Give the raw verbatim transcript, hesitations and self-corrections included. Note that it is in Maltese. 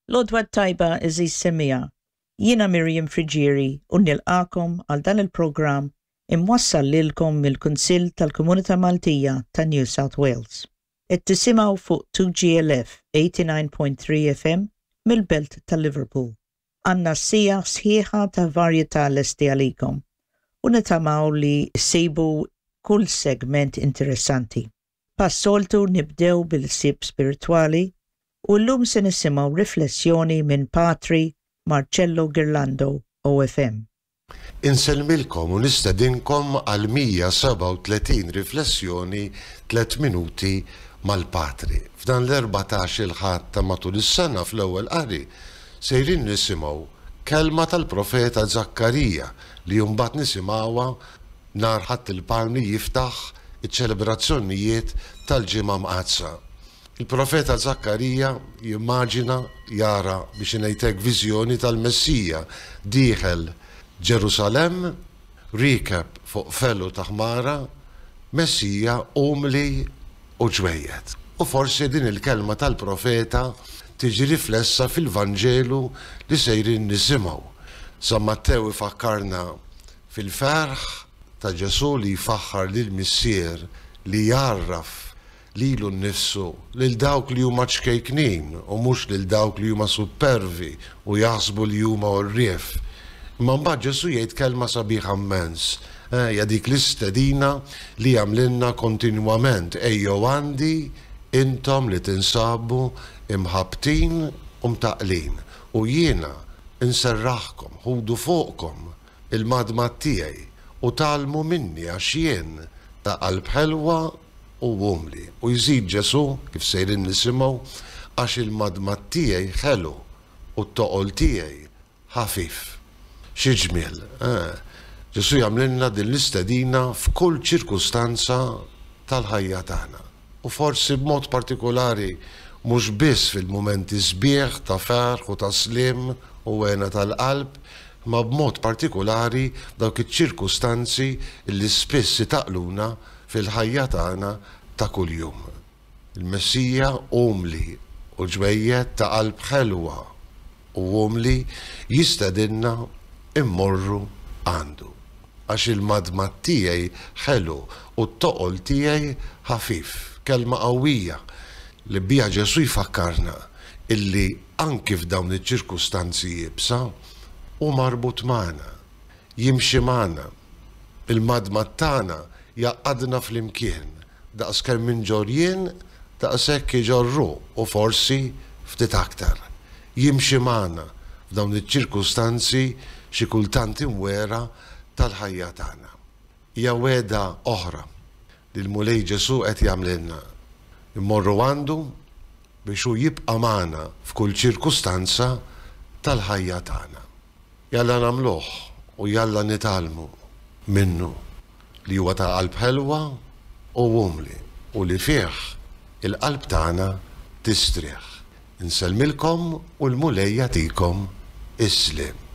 L-għodwa t-tajba, għeżież semmiegħa. Jiena Miriam Friggieri u nilqagħkom għal dan il-programm imwassal lilkom mill-Kunsill tal-Komunità Maltija ta' New South Wales. Qed tisimgħu fuq two G L F eighty-nine point three F M mill-belt ta' Liverpool. Għandna siegħa sħiħa ta' varjetà lesti għalikom u nittamaw li ssibu kull segment interessanti. Bħas-soltu nibdew bil-ħsieb spiritwali u llum se nisimgħu riflessjoni minn Patri Marcello Girlando, O F M. Insellmilkom u nistedinkom għal mija u sebgħa u tletin riflessjoni tliet minuti mal-Patri. F'dan l-erbatax-il Ħadd ta' matul is-sena, fl-ewwel qari sejrin nisimgħu kelma tal-profeta Zakkarija li mbagħad nisimgħuha nhar Ħadd il-Palmi jiftaħ iċ-ċelebrazzjonijiet tal-Ġimgħa Mqaddsa. Il-profeta Zakkarija jimmaġina, jara, biex ngħidlek, viżjoni tal-Messija dieħel Ġerusalem riekeb fuq felu ta' ħmara, Messija umli u ġwejjed. U forsi din il-kelma tal-profeta tiġi riflessa fil-Vanġelu li sejrin nisimgħu. San Mattew ifakkarna fil-ferħ ta' Ġesu li jfaħħar lil missier li jgħarraf lilu nnifsu lil dawk li huma ċkejknin u mhux lil dawk li huma supervi u jaħsbu li huma għorrief. Imma mbagħad Ġesu jgħid kelma sabiħa immens. Eh, ja dik l-istedina li jagħmlilna kontinwament: "Ejjew għandi intom li tinsabu imħabbtin u mtaqqlin u jiena inserraħkom, ħudu fuqkom il-madmad tiegħi u tgħallmu minni għax jien ta' qalb ħelwa u umli." U jżid Ġesu, kif sejrin nisimgħu, "għax il-madmad tiegħi ħelu u t-toqol tiegħi ħafif." Xi ġmiel, eh? Ġesu jagħmlilna din l-istedina f'kull ċirkustanza tal-ħajja tagħna. U forsi b'mod partikolari mhux biss fil-mumenti sbieħ ta' ferħ u ta' slim u hena tal-qalb, ma b'mod partikolari dawk iċ-ċirkustanzi li spiss itaqqluna fil-ħajja tagħna ta' kuljum. Il-Messija umli u ġwejjed, ta' qalb ħelwa u umli, jistedinna immorru għandu. "Għax il-madmad tiegħi ħelu u t-toqol tiegħi ħafif." Kelma qawwija li biha Ġesu jfakkarna illi anki f'dawn iċ-ċirkustanzi iebsa hu marbut magħna, jimxi magħna. Il-madmad tagħna jgħaqqadna flimkien, daqs kemm inġorr jien, daqshekk iġorr hu u forsi ftit aktar. Jimxi magħna f'dawn iċ-ċirkustanzi xi kultant imwiegħra tal-ħajja tagħna. Hija wegħda oħra li l-Mulej Ġesu qed jagħmlilna. Immorru għandu biex hu jibqa' magħna f'kull ċirkustanza tal-ħajja tagħna. Jalla nagħmluh u jalla nitgħallmu minnu li huwa ta' qalb ħelwa u umli u li fih il-qalb tagħna tistrieħ. Insellmilkom u l-Mulej jagħtikom is-sliem.